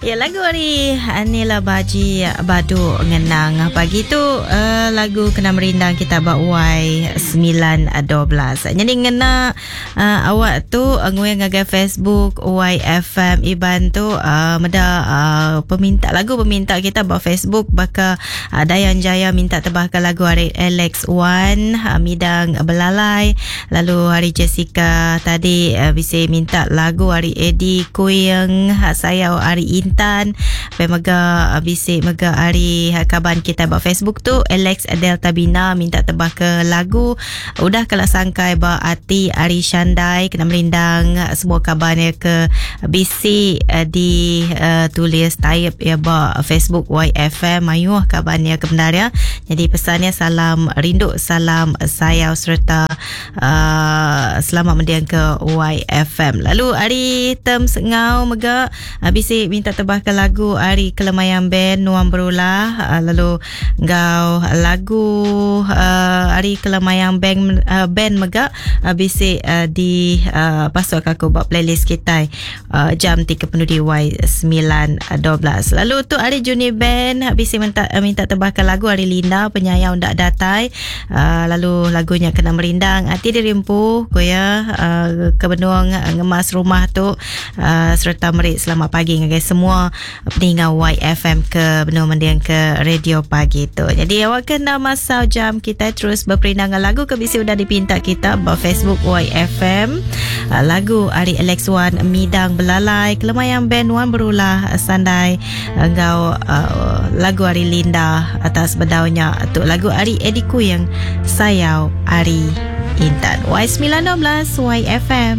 Ya lagu ari Anila Baji Badu Ngenang. Pagi tu uh, lagu kena merindang kita ba Y912. Jadi ngena uh, awak tu uh, nguing ngagai Facebook YFM Iban tu uh, meda uh, peminta lagu peminta kita ba Facebook baka uh, Dayan Jaya minta tebahka lagu ari Alex Wan uh, Midang Belalai Lalu hari Jessica tadi uh, bisi minta lagu hari Eddie Kuing, uh, sayau hari Intan. Pe mega uh, bisi mega hari uh, kaban kita ba Facebook tu Alex Delta Bina minta tebah ke lagu udah kala sangkai ba ati hari Shandai kena merindang uh, semua kaban ya ke bisi uh, di uh, tulis type ya ba Facebook YFM mayuh kaban ya ke bendar ya. Jadi pesannya salam rindu, salam sayau sereta uh, selamat mendiang ke YFM. Lalu ari term sengau mega uh, bisi minta tebah ke lagu ari Kelemayang Band Nuang Berulah uh, lalu enggau lagu uh, ari Kelemayang Band uh, band mega uh, bisi uh, di uh, pasuk aku ba playlist kita uh, jam ti kepenudi Y9.12. Lalu tu hari Juni Band bisi minta, eh, minta tebahkan lagu hari Linda penyayau ndak datai. Uh, lalu lagunya kena merindang ati diri empu ku ya uh, ke benung ngemas rumah tu uh, sereta meri selamat pagi ngagai semua peninga YFM ke benung mending ke radio pagi tu. Jadi awak kena masau jam kita terus berperindang dengan lagu ke bisi udah dipinta kita ba Facebook YFM. Ah, lagu ari Alex Wan Midang Belalai Kelemayang Band Wan Berulah Sandai enggau uh, lagu ari Linda atas bedaunya tu lagu ari Eddie Kuyang Sayau Ari Intan Y912 YFM.